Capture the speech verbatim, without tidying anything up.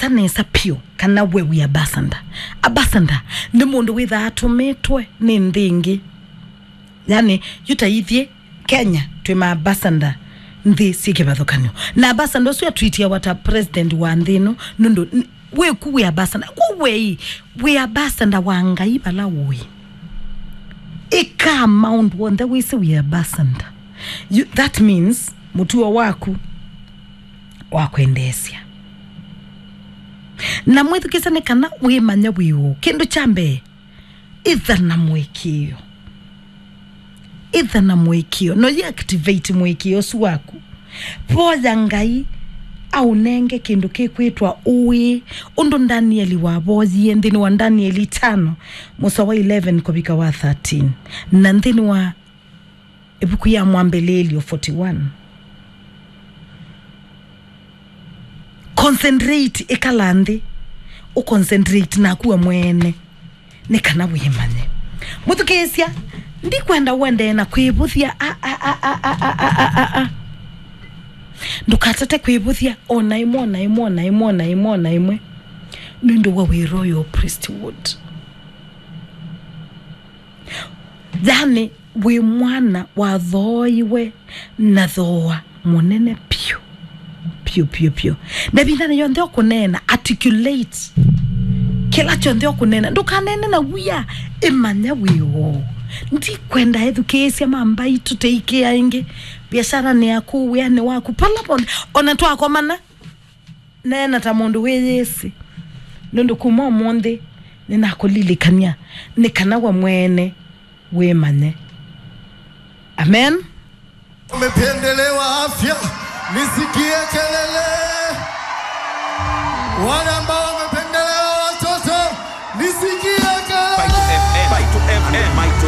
nesa piũ kana we wĩ ambassador. Ambassador nĩ mũndũ wĩthaa atũmĩtwe nĩ nthĩ ĩngĩ. Yani, yu ta ithyĩ Kenya twĩ ma ambassador nthĩ syĩ kĩvathũkany'o. Na ambassador ũsu atwitiawa ta president wa nthĩ ĩno, nũndũ n- wĩku wĩ ambassador. Kwa wei, wĩ ambassador wa Ngai vala ũĩ. Ĩka amount w'onthe wĩsĩ wĩ ambassador. You, that means mũtuo waku wa kwendeesya. Na mwĩthukĩĩsya nĩ kana wĩmanye wĩ ũũ. Kĩndũ kya mbee, ĩtha na mũĩkĩĩo. Ĩtha na mũĩkĩĩo. No yĩ activate mũĩkĩĩo ũsu waku. Voya Ngai aũnenge kĩndũ kĩkwĩtwa ũĩ, ũndũ Ndanieli wavoyie nthĩnĩ wa Ndanieli itano, mũsoa wa eleven kũvika wa thirteen, na nthĩnĩ wa ĩvuku ya Mwambĩlĩĩlyo forty-one. Concentrate, ĩkala nthĩ, ũconcentrate naku we mwene, nĩ kana wĩmanye. Mũthukĩĩsya, ndikwenda ũendee na kwĩvũthya, a, a, a. Ndũkatate kwĩvũthya o na ĩmwe, o na ĩmwe, o na ĩmwe, o na ĩmwe, o na ĩmwe, nũndũ wa wĩ Royal Priesthood. Yani, wĩ mwana wathooiwe na thooa mũnene piũ, piũ, piũ, piũ. Na ĩvindanĩ yonthe ũkũneena, articulate kĩla kyonthe ũkũneena. Ndũkaneene na wia, ĩmanya wĩ woo. Ndikwenda ethukĩĩsya ma mbaitũ tũikĩa ĩngĩ viasaranĩ yaku, wĩanĩ waku, pala ponthe. Ona twakomana, neena ta mũndũ wĩyĩsĩ, nũndũ kuma ũmũnthĩ nĩnakũlilikany'a nĩ kana we mwene wĩmanye. Amen. Umependelewa afya, nisikie kelele. Wale ambao wamependelewa watoto, nisikie kelele. Fight to F M. Fight to F M. Fight to